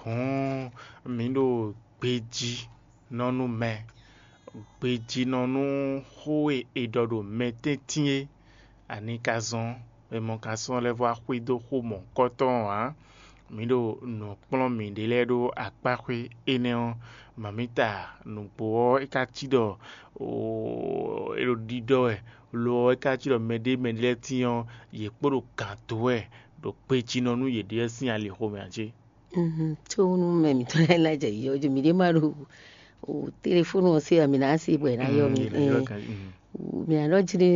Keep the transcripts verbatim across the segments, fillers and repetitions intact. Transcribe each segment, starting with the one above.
Hǔn mǐ ɖo gbejínɔnú mɛ, gbejínɔnú xó e è ɖɔ ɖo mɛ tɛ́ntin é, ani ka zɔ́n? Mɛ mɔ ka sɔ́ lɛ́ vɔ́ wá xwedó xó mɔ̌hunkɔtɔn ǎ. Mǐ ɖo nǔ kplɔ́n mǐɖée lɛ́ɛ ɖó akpáxwé énɛ́ ɔ́, mamǐta nǔgbó ɔ́ é ka cí ɖɔ é ɖo ɖiɖɔ wɛ, lo ɔ́ é ka cí ɖɔ mɛɖé mɛɖé lɛ́ɛ tíin ɔ́, yě kpo ɖo gǎn dó wɛ ɖo gbejínɔnú yěɖée sín alixo mɛ ǎ cé? Có nú mɛ mǐtɔn lɛ́ɛ ná jɛ yiyɔ́ jí, mǐɖée ma ɖo telefónu ɔ́ se ǎ, mǐ ná se bɔ è nǎ yɔ mì. Mǐ ná ɖɔ jí ɖé,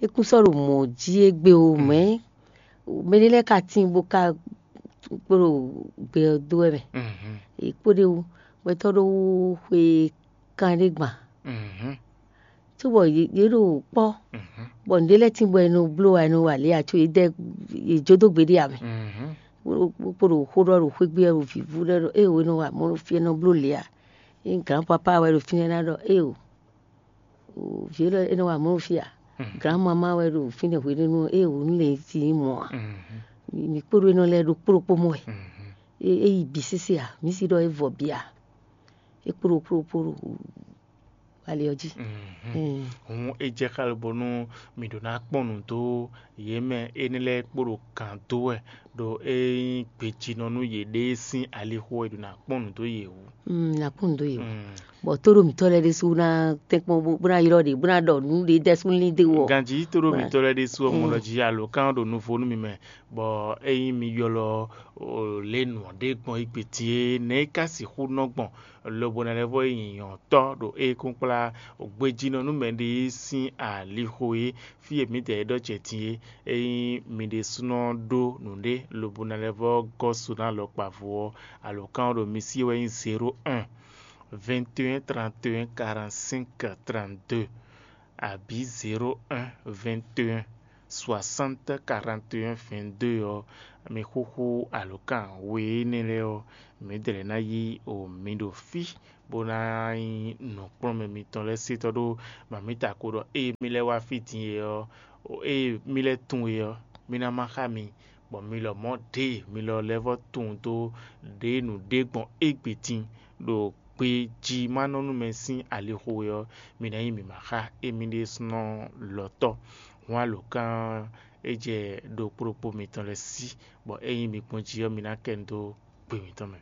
é kún sɔ́ ɖo mɔ̌ jí égbé o, mɛ̌ mɛɖé lɛ́ɛ ka tíin bó ka kpo ɖo gbɛ ɔ́ dó wɛ mɛ. È kpo ɖ'é wú, gbɛtɔ́ ɖó wú xwe kanɖé gban. Cóbɔ yě ɖo kpɔ́, bɔ nǔɖé lɛ́ɛ tíin bɔ è nɔ bló wa, è nɔ wa lě ǎ, có yě dɛ yě jó dó gbe ɖé ǎ mɛ. Bó kpo ɖo xó ɖɔ ɖo xwé gbe wɛ ɖo vǐvú lɛ́ɛ ɖɔ éeǒ, è nɔ wa mɔ̌ ɖo fí, è nɔ bló lě ǎ. Ényí gǎn papá wɛ ɖo fínɛ́ ná ɖɔ éeǒ, vǐ élɔ́ é nɔ wa mɔ̌ ɖo fí ǎ. Gǎn mamá wɛ ɖo fínɛ́ hweɖénu ɔ́, éeǒ, nú lě sí nyí mɔ̌ ǎ. Mǐ kpo ɖó énɛ́ lɛ́ɛ ɖokpó ɖokpó mɔ wɛ. É yi bǐ sésé ǎ, mǐ si ɖɔ é vɔ bǐ ǎ. É kpo ɖokpó ɖokpó ɖo ali ɔ́ jí. Hǔn é jɛ xá lobo nú mǐ ɖó ná kpɔ́n nǔ dó yě mɛ énɛ́ lɛ́ɛ kpo ɖo gǎn dó wɛ ɖo é nyí gbejínɔ nú yěɖée sín alixo wɛ è ɖǒ ná kpɔ́n nǔ dó yě wú. Ná kpɔ́n nǔ dó yě wú. Bɔ tóɖó mǐtɔn lɛ́ɛ ɖésú ná tɛ́nkpɔ́n bó ná ylɔ́ ɖě bó ná ɖɔ nǔ ɖě dɛ́ súnlí dé wɔ. Ganjí tóɖó mǐtɔn lɛ́ɛ ɖésú ɔ́, mɔ ɖɔ jí alǒkan ɖo nuvo nú mi mɛ, bɔ ényí mi ylɔ́ lě nǔ ɔ́ ɖé gbɔn égbé din é, nɛ̌ é ka sixú nɔ gbɔn? Lobo ná lɛ́ vɔ yi nyǐnyɔ́tɔ́ ɖo é kún kplá gbejínɔ nú mɛɖé sín alixo é, fí e mǐdɛɛ ɖɔ jɛ din é. Ényí mi ɖésúnɔ ɖó nǔɖé lobo ná lɛ́ vɔ gɔ́ su ná alɔkpa vo ɔ́, alǒkan ɔ́ ɖo mi sí wɛ nyí zéro un, vingt et un, trente et un, quarante-cinq, trente-deux, abǐ zéro un, vingt et un, soixante, quarante et un, vingt-deux ɔ́, mi xúxú alǒkan we énɛ́ lɛ́ɛ ɔ́, mǐdɛɛ ná yí o mi ɖo fí bó ná nyí nǔkplɔ́nmɛ mitɔn lɛ́ɛ sítɔ́ ɖó mamǐta ko ɖɔ ée mì lɛ́ wá fí din é ɔ́, ée mì lɛ́ tunwun é ɔ́, mì ná má xá mi, bɔ mi lɔmɔ̌ ɖěe mi lɔ lɛ́ vɔ́ tunwun dó ɖě nǔɖé gbɔn égbé din ɖo gbejímánɔnúmɛ sín alixo é ɔ́, mi ná nyí mǐmá xá émí ɖésúnɔ lɔtɔ́. Hǔn alǒkan é jɛ ɖo kplɔ́kpó mitɔn lɛ́ɛ sí, bɔ ényí mi gbɔn jí ɔ́, mi ná kɛ nu dó gbe mitɔn mɛ.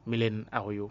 Mi lɛ́ nú awɔyó.